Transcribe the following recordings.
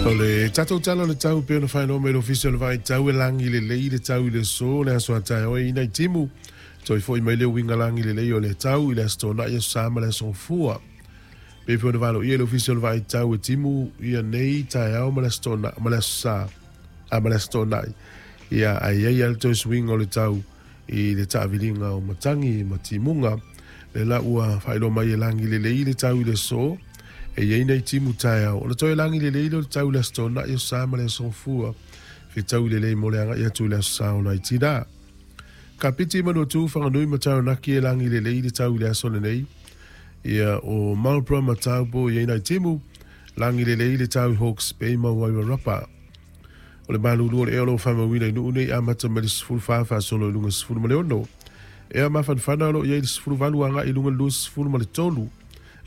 O le tatou tala o le tau pei ona faailoa mai le Ofisa o le Vaai Tau e lagi lelei le tau i le aso, le aso a taeao e i nai timu. Toe foi mai le uiga lagi lelei o le tau i le Aso Toonai, Aso Sa ma le Aso Gafua. Pei foi ona valoia le Ofisa o le Vaai Tau e timu ia nei taeao ma le Aso Toonai ma le Aso Sa a ma le Aso Toonai. Ia ae i ai lava le toe suiga o le tau i le taaviliga o matagi ma timuga. Lea la ua faailoa mai e lagi lelei le tau i le aso, e i ai nai timu taeao. Ona toe lagi lelei lea o le tau i le Aso Toonai, Aso Sa ma le Aso Gafua, fetaui lelei mo le agai atu i le Aso Sa o nai tina. Kapiti, Manuatu, Whanganui ma Taranaki e lagi lelei le tau i le aso lenei. Ia o Marlborough ma Taupo i ai nai timu, lagi lelei le tau i Hawke's Bay ma Wairarapa. O le malulu o le ea o lo o faamauina i Nuu nei amata mai le 14 faasolo i luga 16. Ea mafanafana o lo o i ai le 18 agai i luga le 23.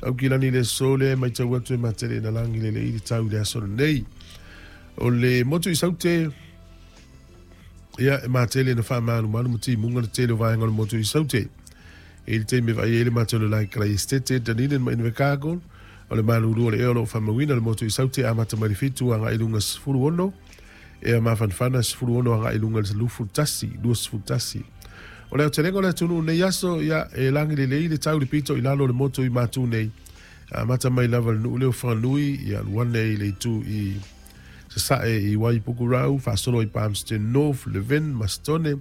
Aukilani i le aso lea e matau atu e matele ina lagi lelei le tau i le aso lenei. O le motu i Saute, ia e matele ina faamalumalu ma timuga le tele o vaega o le motu i Saute. I le taimi e vaai ai le matou le Laikalai Estate, Dunedin ma Invercargill, o le malulu o le ea o lo o faamauina le motu i Saute amata mai le 7 agai i luga 16, ea mafanafana 16 agai i luga le 21, 21. O le aotelega o le atunuu nei aso, ia, e lagi lelei le tau i le pito i lalo o le motu i Matu nei, amata mai lava le nuu lea o Whanganui, ia alu ane i le itu i Sasae i Waipukurau, faasolo i Palmerston North, Levin, Mastone,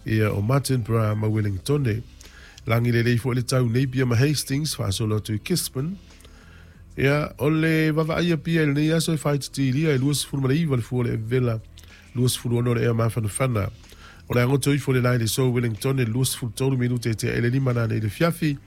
ia o Martinborough ma Wellingtone. Lagi lelei foi le tau Napier ma Hastings, faasolo atu i Gisborne. Ia, o le vavaaia pia i lenei aso e faaititiilia e 29 le fua o le Evela, 26 le ea mafanafana. O le agoto ifo le la i le so Wellingtone 23 minute e tea i le 5 nanei i le fiafi.